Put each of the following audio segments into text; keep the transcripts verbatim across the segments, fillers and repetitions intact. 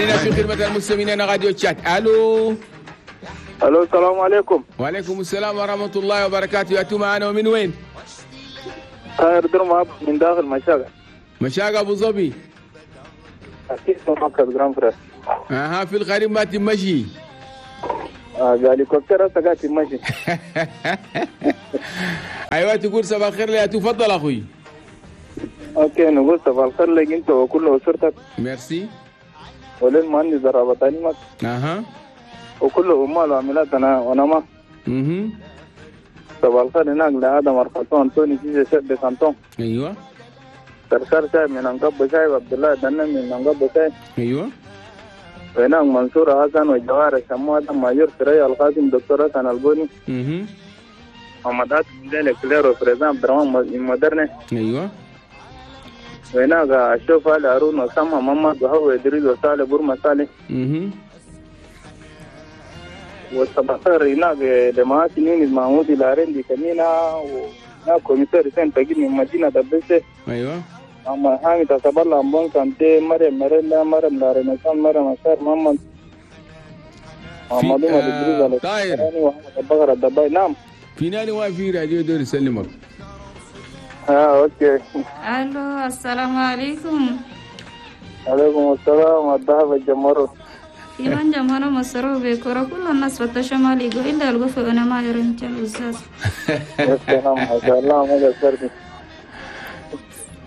أننا في خدمة المستمعين راديو تشاد. ألو. الو السلام عليكم. وعليكم السلام ورحمة الله وبركاته. يا معنا ومن وين؟ طاهر درما من داخل مشاقة. مشاقة أبو ظبي. أكيد مركز grand frère. أها في الغريب ما تمشي. آه هليكوبتر هسه قاعد تمشي. أيوة تقول صباح الخير لي تفضل أخوي. OK نقول صباح الخير لك أنت وكل أسرتك. ميرسي. وللمهندس الرابطاني. أها. وكل عمال وعاملات أنا وأنا ما. اها. صباح الخير هناك لآدم أرخصون أنتوني سيزي شيف بسانتون. أيوة. سرسار شايب من أنقب شايب عبد الله دنم من أنقب شايب. أيوة. وهناك منصور حسن وجوار الشمو آدم ماجور سريع القاسم دكتور حسن البوني. اها. محمد عاصم ذلك كليرو فريزان عبد الرحمن مدرنة. أيوة. وهناك أشوف علي هارون وسامة محمد وهو إدريس وصالح بورما صالح. اها. والصباح الخير هناك لمعاسي نيني محمود الارندي كمينة وهناك كوميسار سين تجيب من مدينة دبسة. أيوة. أما حامد أصبر الله أمبون كانتي مريم مريم مريم لارينسان مريم أشار محمد محمد إدريس طاهر وأحمد بكر الدباي. نعم. في ناني واقف في راديو دور يسلمك. اه OK. الو السلام عليكم. عليكم السلام والذهب الجمهور. في من جمهور مصر بكرة كل الناس فتشوا مالي يقول إلا القفة أنا ما يرنج الأستاذ. يا سلام ما شاء الله ما قصرتي.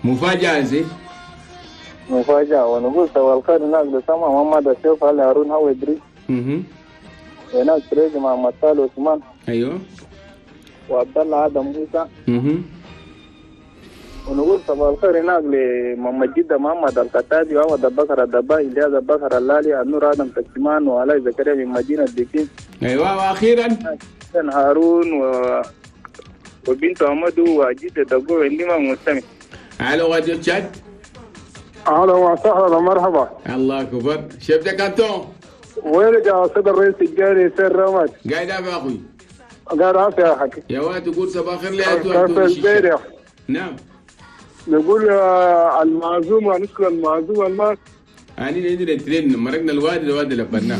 مفاجأة زي. مفاجأة ونقول سوى الخير هناك لسما محمد الشيخ علي هارون هو إدريس. اها. هناك تريزي مع محمد عثمان. ايوه. وعبد الله آدم موسى. اها. ونقول صباح الخير هناك لمحمد جدة محمد القتادي وعوض بكر الدباي إلياس بكر اللالي النور آدم تكتمان وعلاء زكريا من مدينة ديكين. ايوه واخيرا حسن هارون و... وبنت أحمد وجدة دقو عندما مستمع. الو راديو تشاد. اهلا وسهلا مرحبا. الله اكبر chef de canton. وينك يا سيد الرئيس الجاري سير رمد؟ قاعد يا اخوي. قاعد عافية يا حكي. يا واد تقول صباح الخير لي كيف نعم. نقول المعزومة نشكر المعزومة الماس. أنا عندنا ترين مرقنا الوادي الوادي لبناه.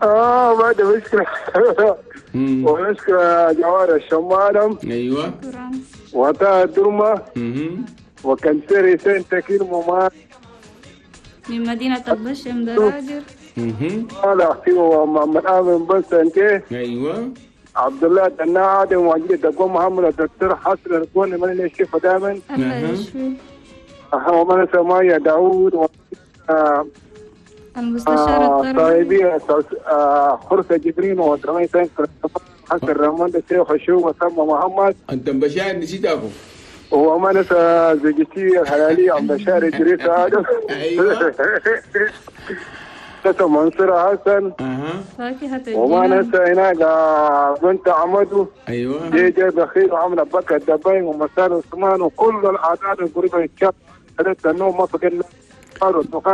آه ما ده مشكلة. ونشكر جوار الشمالم. أيوه. وطه الدرمة. وكنسيري سين تكير ممار. من مدينة البشم دراجر. اها. أختي ومحمد آمن بن سنتي. أيوه. عبد الله دنا آدم وجيد دقوم محمد الدكتور حسن الكون من اللي يشوفه دائما. الله يشفيه. ومن سمايا داوود و المستشار التربوي. طيبية خرسة جبرين ودرمي سنك حسن رمان الشيخ حشوم وسمى محمد. أنت بشار نسيت أخو. وما نسى زوجتي الحلالية عم بشار إدريس آدم. أيوه. نسى منصور حسن. اها. وما نسى هناك بنت عمدو. ايوه. جي جي بخير وعمل بكر الدبين ومسار عثمان وكل الاعداد القريبة الشاب ثلاثة النوم ما فقدنا.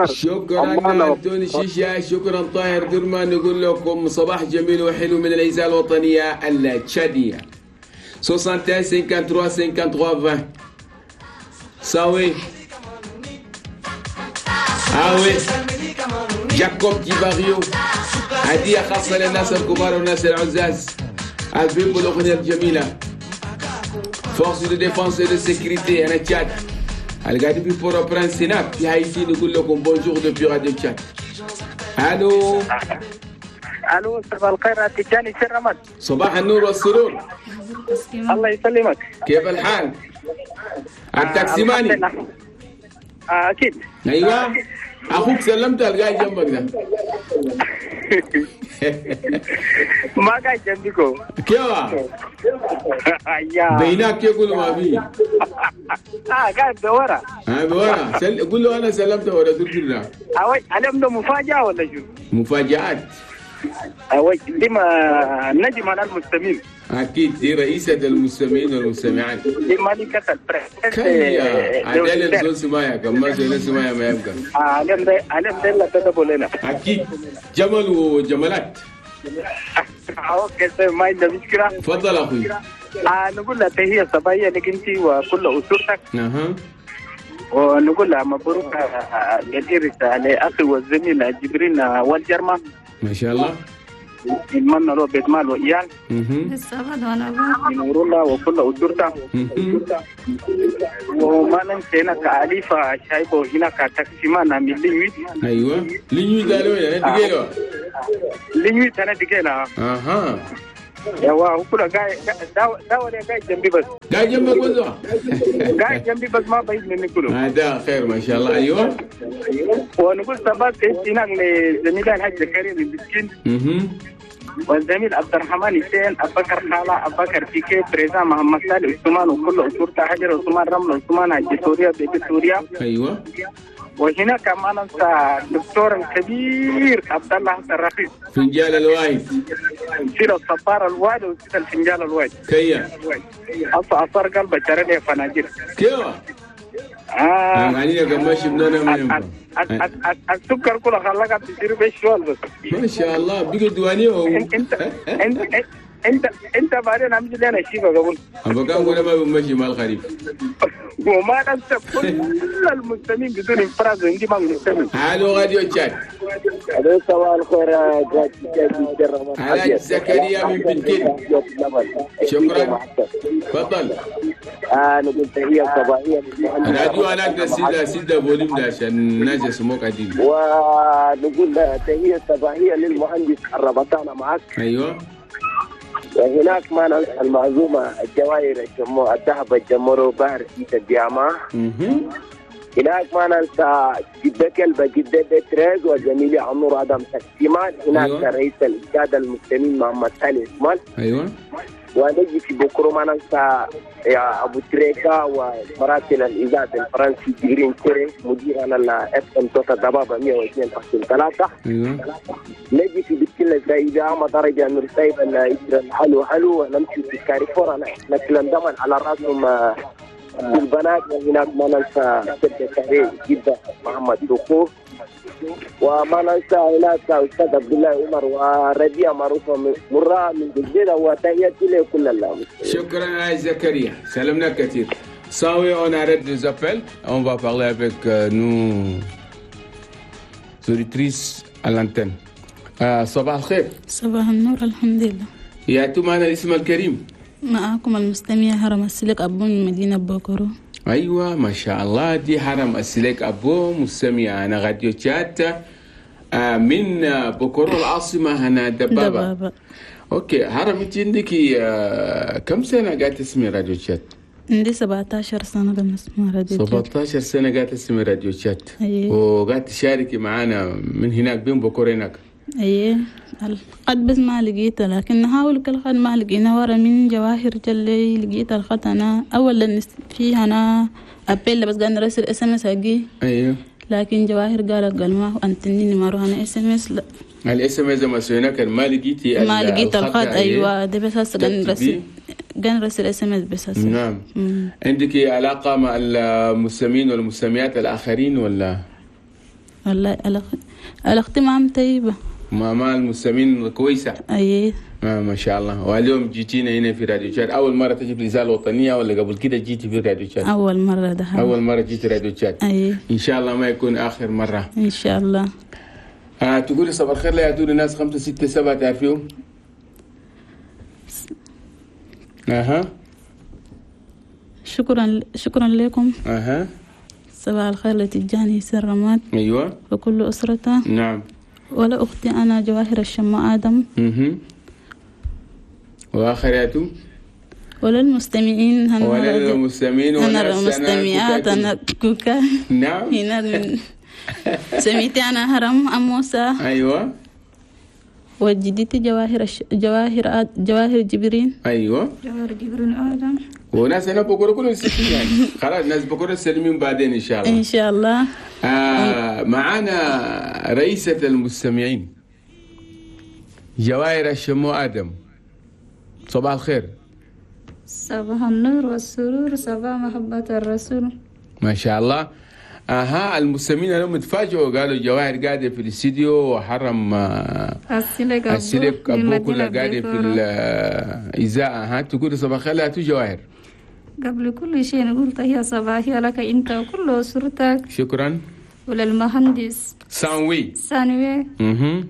شكرا أنتوني شيشة، شكرا طاهر درمان. نقول لكم صباح جميل وحلو من الإذاعة الوطنية التشادية. واحد وستين ثلاثة وخمسين عشرين. ساوي آوي جاكوب كيباريو هدية خاصة للناس الكبار والناس العزاز. البيب الأغنية الجميلة forces de défense de sécurité أنا تشاد القاعدين في بورو-برانس هناك في هايتي. نقول لكم bonjour depuis راديو تشاد. الو الو صباح الخير تجاني سرمد. صباح النور والسرور. الله يسلمك. كيف الحال؟ التاكسيماني. آه اكيد. ايوه اخوك سلمت القاعد جنبك ده. ما قاعد جنبكم. كيف؟ بيناك يقول ما في. اه قاعد بورا. اه بورا سل... قول له انا سلمت ورا تركنا. اوي اليوم ده مفاجأة ولا شو؟ مفاجآت. اوي دي ما نجم على المستمعين. اكيد دي رئيسة المستمعين والمستمعات. دي مالكة البريس. كيا عدالة زول سمايا كم ما زول سمايا ما يبقى. اه اليوم ده اليوم ده لا تدبوا لنا. اكيد جمل وجملات. OK ما عندنا مشكلة. تفضل اخوي. آه نقول لها تحية صباحية لك انت وكل اسرتك. اها. ونقول مبروك الإرث لأخي والزميل جبرين والجرمة. ما شاء الله. نتمنى له بيت مال وإيال. نور الله وكل أسرته. وما ننسى هناك أليفة شايبه هناك تقسيمانا من لينويت. أيوة لينويت قالوا يعني دقيلة. لينويت أنا دقيلة. أها. يوا هو كله قاعد دا ولا قاعد جنبي بس. قاعد جنبك وزع. قاعد جنبي بس ما بعيد مني كله. هذا خير ما شاء الله. أيوة. ونقول سبات هناك لزميلنا الحاج زكريا المسكين. والزميل عبد الرحمن حسين، أبو بكر خالة، أبو بكر فيكي، بريزا محمد سالم عثمان وكل أسرته، حجر عثمان، رمل عثمان، حج سوريا، بيت سوريا. أيوة. وهنا كمان أنسى الدكتور الكبير عبد الله حسن رفيق. فنجال الوايد. سير الصبار الوايد وسير الفنجال الوايد. كيا. أص أصار قلبه جرني فناجيل. كيف؟ آه. يعني كم شفنا من السكر كله خلاك تصير بشوال بس. ما شاء الله بقى دواني هو. انت انت انت انت بعدين عم لنا شيء قبل. أبغى أقول ما بمشي مع الخريف. وما ننسى كل المستمعين بدون انفراد عندي ما مستمع. هالو راديو تشاد. الو صباح الخير يا زكريا من بنتين. شكرا. تفضل. انا قلت هي صباحية راديو انا سيدا سيدا volume ده عشان الناس يسمعوك عديل. ونقول تحية صباحية للمهندس الربطانه معك. ايوه. وهناك ما ننسى المعزومة الجواهر الجمو الذهب الجمرو بحر سيت الجامعة. هناك ما ننسى جدة كلبة جدة بتريز وزميلي عمر آدم تكسيمان. هناك أيوة. رئيس الإنشاد المسلمين محمد سالم عثمان. أيوة. ونجي في بكرة ما ننسى يا أبو تريكا ومراسل الإذاعة الفرنسي جيرين كوري مدير أنا ال إف إم توتا دبابة مئة واثنين فاصلة ثلاثة. أيوة. نجي في بكل زايدة ما درجة نرسيب الحلو حلو ونمشي في كاريفور أنا نتكلم دائما على رأسهم البنات. وهناك ما ننسى جدة جدة محمد دوخو وما ننسى هناك أستاذ عبد الله عمر وربيع معروفة مرة من الجزيرة. وتحياتي لكل الله. شكرا يا زكريا، سلمنا كثير. Saoui, on arrête les appels. On va parler avec euh, nos auditrices à l'antenne. آه، صباح الخير. صباح النور. الحمد لله. يا معنا الاسم الكريم. معكم المستمع هرم السلك أبو من مدينة بوكرو. أيوة ما شاء الله، دي هرم السلك أبو مستمع أنا راديو تشات من بوكرو العاصمة هنا دبابة. دبابة. okay هرم، أنت عندك كم سنة قاعدة تسمعي راديو تشات؟ عندي سبعة عشر سنة بنسمع راديو تشات. سبعة عشر سنة قاعدة تسمعي راديو تشات. أيوة. وقاعدة تشاركي معانا من هناك بين بوكرو هناك. ايه القد بس ما لقيته، لكن نحاول كل خد ما لقينا ورا من جواهر جلي لقيت الخط انا اولا فيها انا appel بس قاعد نرسل SMS اجي. ايوه. لكن جواهر قالت قال ما انتني ما اروح انا SMS. لا ال SMS ما سوينا كان ما لقيتي ما لقيت الخط. ايوه ده بس هسه قاعد نرسل قاعد نرسل SMS بس هسه. نعم. مم. عندك علاقة مع المستمعين والمستمعات الاخرين ولا؟ والله علاقتي معهم طيبة. ما مع المستمعين كويسة. أيه. ما, ما شاء الله. واليوم جيتينا هنا في راديو تشاد، أول مرة تجي في الإذاعة الوطنية ولا قبل كده جيتي في راديو تشاد؟ أول مرة ده. أول مرة جيتي راديو تشاد. أيه. إن شاء الله ما يكون آخر مرة. إن شاء الله. آه تقولي صباح الخير لا يدور الناس خمسة ستة سبعة تعرفيهم؟ أها. شكرا شكرا لكم. أها. صباح الخير لتجاني سر رماد. أيوة. وكل أسرته. نعم. ولا أختي أنا جواهر الشماء آدم. اها. وآخرياته؟ ولا المستمعين. ولا المستمعين ولا المستمعات. أنا كوكا. نعم. هنا من سميتي أنا هرم أم موسى. أيوة. وجدتي جواهر الش... جواهر آد... جواهر جبرين. أيوة. جواهر جبرين آدم. وناس هنا بكرة كلهم ستين يعني. خلاص ناس بكرة سلمين بعدين إن شاء الله. إن شاء الله. آه معانا رئيسة المستمعين جواهر الشمو آدم. صباح الخير. صباح النور والسرور، صباح محبة الرسول. ما شاء الله. اها المستمعين اليوم اتفاجئوا، قالوا جواهر قاعدة في الاستديو وحرم السلك السلك ابو كلها قاعدة في الاذاعة. ها تقول صباح الخير لا جواهر. قبل كل شيء نقول تحية صباحية لك أنت وكل أسرتك. شكرا. وللمهندس سانوي سانوي. اها.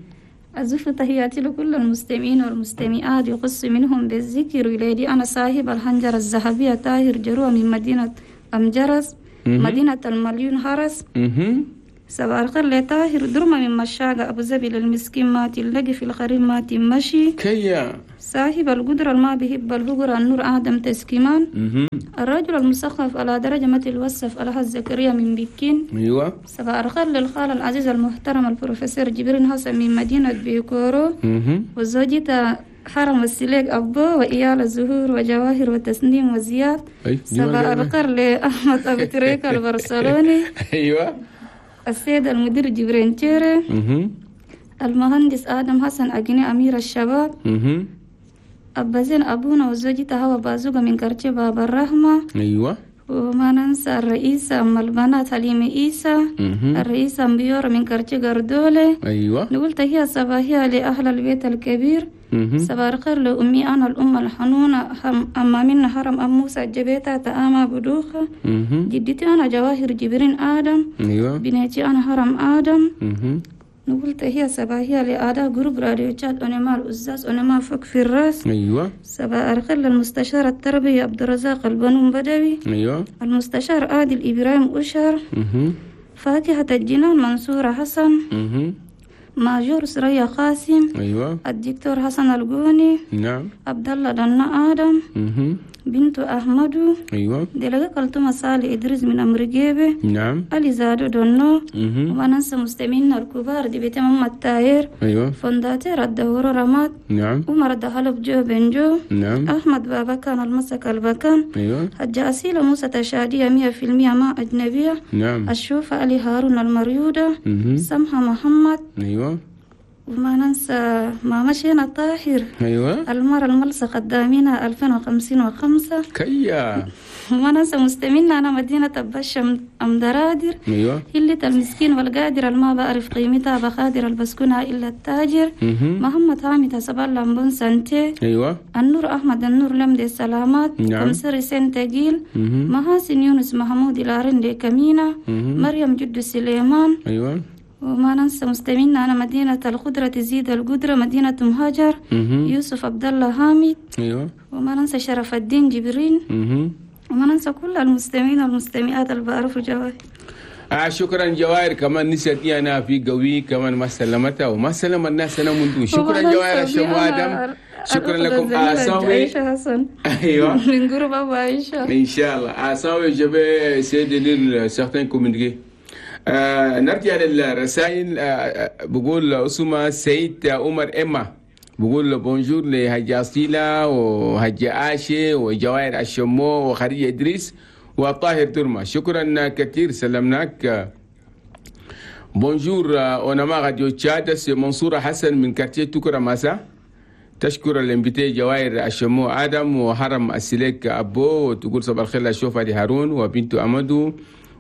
أزف تحياتي لكل المستمعين والمستمعات، يخص منهم بالذكر وليدي أنا صاحب الحنجرة الذهبية طاهر جروة من مدينة أمجرس، مدينة المليون هرس. صباح الخير لطاهر درمة من مشاقة أبو زبي للمسكين ما تلقي في الخريم ما تمشي. كيا صاحب القدرة ما بيحب الفقر النور آدم تسكيمان. الرجل المثقف على درجة ما تلوصف الحاج زكريا من بكين. ايوه. صباح الخير للخال العزيز المحترم البروفيسور جبرين حسن من مدينة بيكورو، وزوجته حرم السليك أبو وإيال الزهور وجواهر وتسنيم وزياد. صباح الخير لأحمد أبو تريكة البرشلوني. ايوه. السيد المدير جبرين تيري. المهندس آدم حسن أجني أمير الشباب. أبا زين أبونا وزوجته هوا بازوغة من كرتي باب الرحمة. أيوة. وما ننسى الرئيسة أم البنات حليمة إيسا. الرئيسة بيورا من كرتي قردولة. أيوة. نقول تحية صباحية لأهل البيت الكبير. صباح الخير لأمي أنا الأم الحنونة أما من حرم أم موسى جبيتها تآما بدوخة. جدتي أنا جواهر جبرين آدم. أيوة. بنيتي أنا حرم آدم. نقول تحية صباحية لأعضاء groupe راديو تشاد أونما الأزاز أونما فوق في الراس. أيوة. صباح الخير للمستشار التربية عبد الرزاق البنون بدوي. أيوة. المستشار عادل إبراهيم أشر. فاكهة الجنان منصورة حسن. ماجور سرية قاسم. أيوة. الدكتور حسن الجوني. نعم. عبد الله دنا آدم. مم. بنت أحمد. أيوة. دلقة كلتومة صالح إدريس من أمريكا. نعم. علي زادو دونو. وما ننسى مستمعينا الكبار دي بيت محمد تاير. أيوة. فنداتير الدور رماد. نعم. عمر دهلب جو بنجو. نعم. أحمد بابا كان المسك البكان. أيوة. حجة أسيلة موسى تشادية مية في المية ما أجنبية. نعم. الشوفة علي هارون المريودة. مم. سمحة محمد. أيوة. وما ننسى ما مشينا طاهر. أيوة. المرة الملصق قدامنا ألفين وخمسين وخمسة. كيا. وما ننسى مستمعينا أنا مدينة بشم أم درادر. أيوة. هلة المسكين والقادر الما بعرف قيمتها بخادر البسكونة إلا التاجر. مم. محمد حامد حسب الله بن سنتي. أيوة. النور أحمد النور لمدي السلامات. نعم. كمسري سنتجيل. محاسن يونس محمود الارندي كمينة. مم. مريم جد سليمان. أيوة. وما ننسى مستمعينا أنا مدينة القدرة تزيد القدرة مدينة مهاجر. مم. يوسف عبد الله حامد. أيوة. وما ننسى شرف الدين جبرين. مم. وما ننسى كل المستمعين والمستمعات اللي بعرفوا جواهر. آه شكرا جواهر، كمان نسيتني أنا في قوي كمان ما سلمتها وما سلم الناس أنا منذ. شكرا جواهر الشمو آدم. شكرا لكم. آساوي عائشة حسن. أيوة. من groupe أبو عائشة. إن شاء الله. آساوي je vais essayer de lire certains communiqués. آه نرجع للرسائل. آه بقول أسمة سيد عمر إما بقول bonjour لهجة أصيلة وهجة عاشي وجواهر الشمو وخديجة إدريس وطاهر درما. شكرا كثير، سلمناك. bonjour أونما راديو تشاد، منصورة حسن من quartier توكرا ماسا. تشكر ال invité جواهر الشمو آدم وحرم السليك أبو، وتقول صباح الخير لشوف علي هارون وبنت أمدو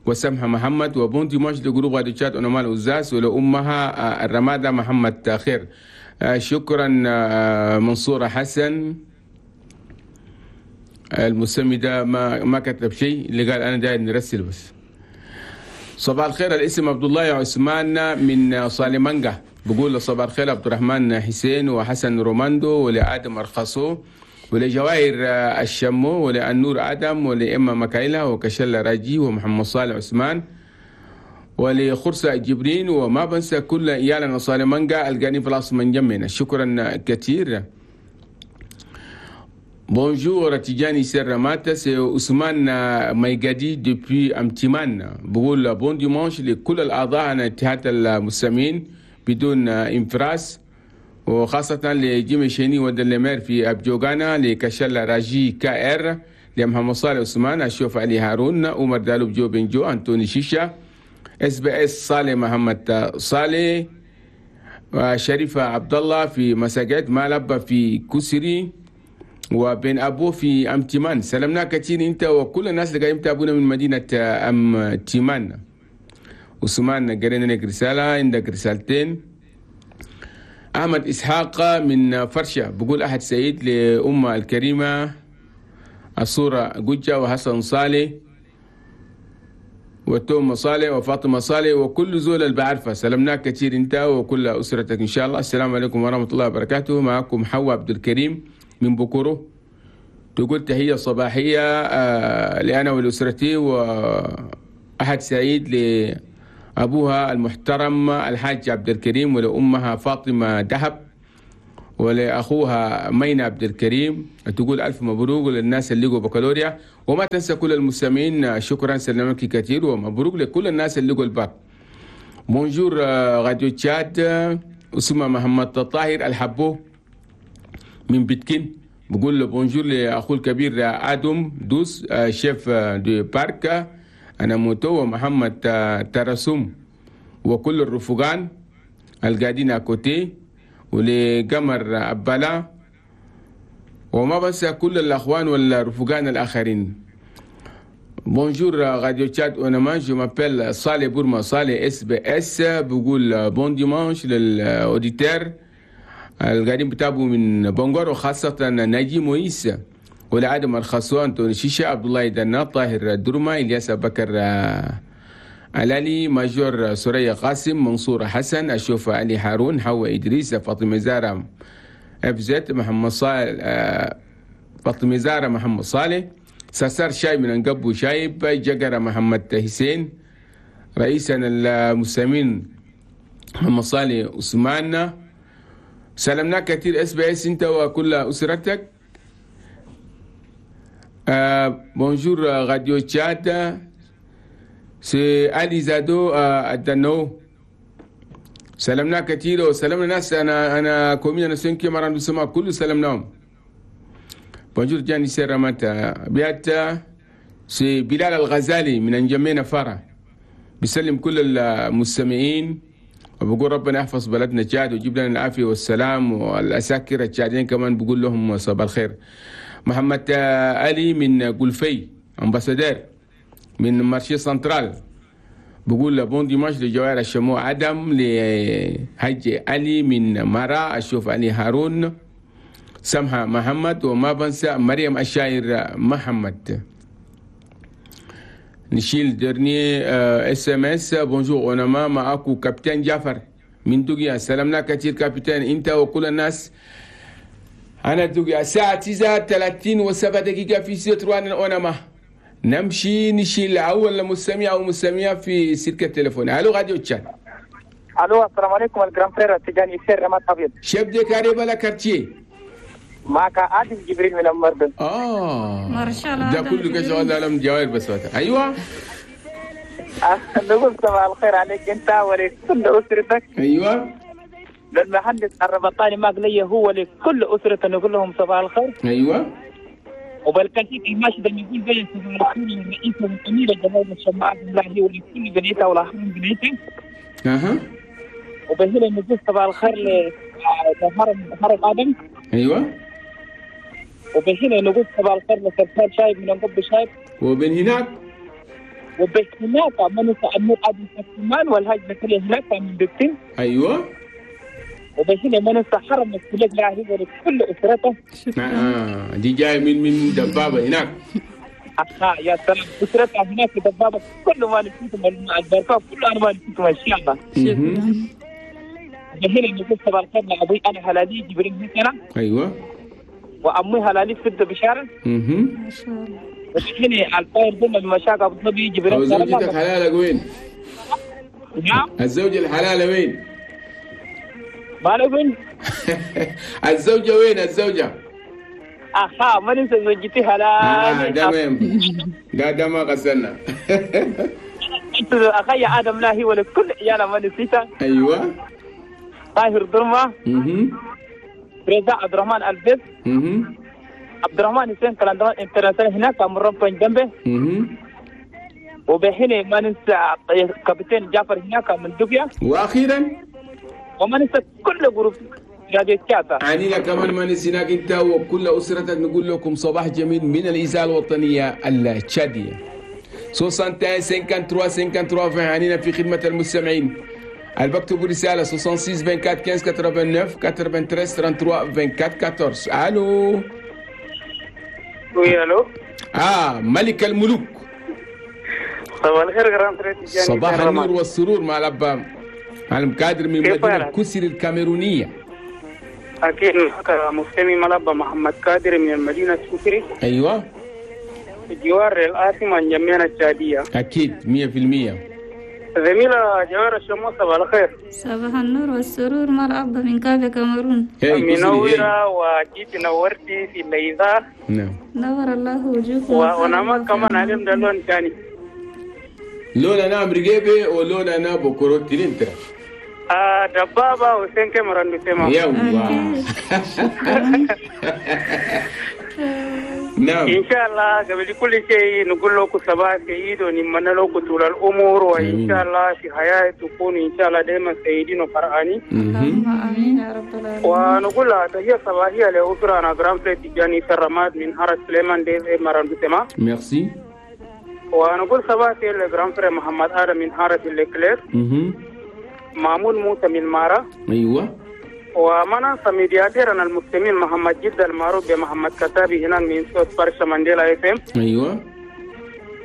وسمحة محمد، و bon dimanche ل groupe راديو تشاد أونما الأزاز ولأمها الرمادة محمد خير. شكرا منصورة حسن. المسمي ده ما ما كتب شيء، اللي قال انا داير نرسل بس. صباح الخير، الاسم عبد الله عثمان من صالمانجا. بقول صباح الخير عبد الرحمن حسين وحسن روماندو ولآدم أرخصو ولجواهر الشمو ولأنور آدم ولإما مكايلة وكشلة راجي ومحمد صالح عثمان ولخرسة جبرين، وما بنسى كل إيالنا صالمانجا القاني في العاصمة من جمنا. شكرا كثير. Bonjour Tidjani Serramata, c'est Ousmane Maïgadi depuis Amtiman. بقول bon dimanche لكل الأعضاء عن اتحاد المستمعين بدون انفراس، وخاصة لجيمي شيني ودلمير في أبجوغانا، لكشلا راجي كائر، لمحمد صالح عثمان، أشوف علي هارون، عمر دالوب جو بنجو، أنتوني شيشة، اس بي اس صالح محمد صالح، وشريفة عبد الله في مساجد مالبا في كسري، وبين أبوه في أمتمان. سلمنا كثير أنت وكل الناس اللي قاعدين يتابعونا من مدينة أمتمان. عثمان قرينا لك رسالة، عندك رسالتين. أحمد إسحاق من فرشة بقول أحد سعيد لأمة الكريمة الصورة جوجا وحسن صالح وتوم صالح وفاطمة صالح وكل زول اللي بعرفه. سلمناك كثير انت وكل أسرتك إن شاء الله. السلام عليكم ورحمة الله وبركاته. معكم حواء عبد الكريم من بكرو، تقول تحية صباحية لأنا ولأسرتي، وأحد سعيد لأبوها المحترم الحاج عبد الكريم، ولأمها فاطمة دهب، ولأخوها مينا عبد الكريم. تقول ألف مبروك للناس اللي لقوا بكالوريا، وما تنسى كل المستمعين. شكرا، سلمك كثير، ومبروك لكل الناس اللي لقوا ال bac. Bonjour راديو تشاد، اسمه محمد طاهر الحبو من بيتكين، بقول له bonjour لأخوه الكبير آدم دوس chef de parc أنا موتو، ومحمد ترسوم، وكل الرفقان القاعدين à côté، ولقمر أبلا، وما بس كل الأخوان والرفقان الآخرين. Bonjour راديو تشاد أونما، je m'appelle صالح بورما صالح SBS. بقول bon dimanche لل auditeurs القاعدين بتابوا من بونغور، وخاصة ناجي مويس ولعدم الخصوان توني شيشة، عبد الله دنا، طاهر درما، إلياس بكر علالي، major سوريا قاسم، منصور حسن، أشوف علي هارون، حواء إدريس، فاطمة زارة اف زد، محمد صالح، فاطمة زارة محمد صالح، ساسار شاي من انقبو شايب، جقرة محمد حسين، رئيسنا المسلمين محمد صالح عثمان. سلمنا كثير SBS انت وكل اسرتك. آه bonjour راديو تشاد، c'est علي زادو الدنو. سلمنا كثير وسلمنا ناس، انا انا commune cinquième arrondissement كله سلمناهم. Bonjour جاني سيراماتا بيات، c'est بلال الغزالي من انجمينا فرا، بيسلم كل المستمعين وبقول ربنا يحفظ بلدنا تشاد ويجيب لنا العافية والسلام، والاساكر التشاديين كمان بقول لهم صباح الخير. محمد علي من قلفي ambassadeur من marché central، بقول bon dimanche لجوائر الشموع ادم، لحج علي من مرا، اشوف علي هارون، سمحة محمد، وما بنسى مريم الشاعر محمد. نشيل dernier SMS. Bonjour اونما، معاكو capitaine جعفر من دوغيا. سلامنا كثير capitaine انت وكل الناس. انا دوغيا الساعة تسعة ثلاثين وسبع دقيقة في ستروان اونما. نمشي نشيل اول مستمع او مستمعة في سلك التليفون. الو راديو تشاد. الو السلام عليكم ال grand frère تجاني سير رمات ابيض، chef de carré بلا quartier، معك عادل جبريل من المردن. اه ما شاء الله، ده كله كشغل عالم جوائر بس وقتها. ايوه نقول صباح الخير عليك انت ولكل اسرتك. ايوه للمهندس الربطاني ماك لي هو لكل اسرته نقول لهم صباح الخير. ايوه وبالكثير الماشي ده يقول بين صباح الخير للرئيس والامير جمال الشماعة بالله ولكل بنيته والاخرين بنيته. اها وبهنا نقول صباح الخير لهرم هرم ادم. ايوه وبهنا نقول صباح الخير لسلطان شايب من انقب شايب. وبين هناك وبين هناك من النور ادم سليمان والهاج زكريا هناك من دكتين. ايوه وبهنا من حرم السلك لا هو لكل اسرته. اه دي جاي من من دبابة هناك. اه يا سلام، اسرتها هناك دبابة، كل ما نسيتم البركة كل انا ما نسيتم ان شاء الله. شكرا. وبهنا نقول صباح الخير لابوي انا هلالي جبريل هنا. ايوه وامي هلالي فد بشارة. اها ما شاء الله. وبهنا الطاير ضمن المشاق ابو ظبي جبريل. زوجتك حلالك وين؟ نعم الزوجة الحلالة وين؟ ما وين؟ الزوجة وين الزوجة؟ اها ما ننسى زوجتي هلالي. آه تمام، ده ده ما غسلنا. انت اخي ادم لا هي ولا كل عيالها ما نسيتها. ايوه طاهر درمه. اها رضا عبد الرحمن البس. اها عبد الرحمن حسين كلاندمان انترناسيونال هناك مربى جنبه. اها وبحين ما ننسى كابتن جعفر هناك من دبيا. واخيرا وما ننسى كل groupe راديو تشاد. عنينا كمان ما نسيناك انت وكل اسرتك. نقول لكم صباح جميل من الاذاعة الوطنية التشاديه. ستة وستين ثلاثة وخمسين ثلاثة وعشرين عنينا في خدمة المستمعين. البكتبوا رسالة ستة وستين أربعة وعشرين خمسة عشر تسعة وثمانية ثلاثة وثلاثين أربعة وأربعين أربعة عشر. الو oui الو. آه ملك الملوك. صباح الخير grand frère. صباح النور والسرور مع الأب معلم قادر من مدينة كسر الكاميرونية. أكيد مستمع ملابا محمد قادر من المدينة السكري. أيوة. جوار العاصمة نجمينا التشادية. أكيد مية في المية. زميلة جوار الشموس صباح الخير. صباح النور والسرور مرحبا من كافي كاميرون. منورة وجيت نورتي في الليزة. نعم. نور الله وجوهكم. ونما كمان علم ده لون تاني. لون أنا أمريكي ولون أنا بكرة تلينترا. آه دبابة وسين كاميرون بسمع. يلا. نعم. إن شاء الله قبل كل شيء نقول لكم صباح سعيد ونتمنى لكم طول الأمور وإن شاء الله في حياة تكون إن شاء الله دائما سعيدين وفرحانين. اللهم آمين يا رب العالمين. ونقول تحية صباحية لأسرة grand frère تيجاني الرماد من حارة سليمان ديز مران بسمع. ميرسي. ونقول صباح سعيد ل grand frère محمد آدم من حارة الكلير. مامون موسى من مارا. أيوة. وما ننسى médiateur نا المسلمين محمد جد المعروف بمحمد كتابي هناك من صوت فرشة مانديلا اف ام. ايوه.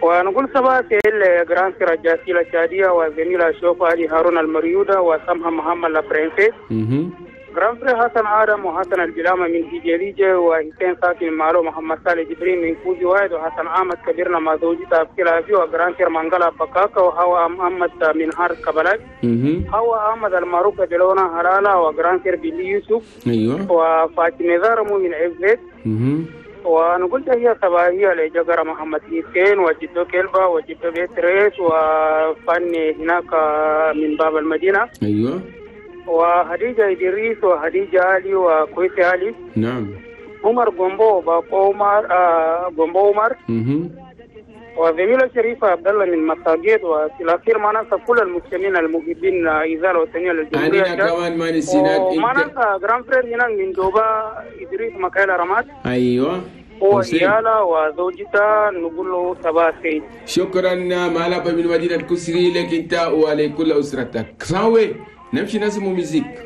ونقول صباح الخير grand frère جاسيلة شادية وزميلة شوف علي هارون المريودة وسمها محمد la princesse. grand frère حسن آدم وحسن البلامة من هجريجة وحسين ساكن مالو محمد صالح جبرين من كوزي واحد وحسن أحمد كبيرنا مع زوجته أبكي و grand frère منغلا بكاكا وهوا محمد من هار كبلاج. هوا أحمد المعروف بلونا هلالة و grand frère بيلي يوسف. أيوة. وفاطمة زارمو من عزت. ونقول تحية صباحية لجقرة محمد حسين وجدو كلبا وجدو بيتريس وفني هناك من باب المدينة. أيوة. وهديجة إدريس وهديجة علي وكويس علي. نعم. عمر جومبو باكو عمر آه جومبو عمر. وزميلة شريفة عبد الله من مساجد. وفي الأخير ما ننسى كل المسلمين المحبين إزالة وطنية للجمهورية. أنا كمان ما نسيناك. وما ننسى grand frère هنا من دوبا إدريس مكايلا رماد. أيوة. هو إيالا وزوجته نقول له صباح الخير. شكرا مالابا من مدينة كسري لك أنت ولكل أسرتك. ساوي نمشي نسمو musique.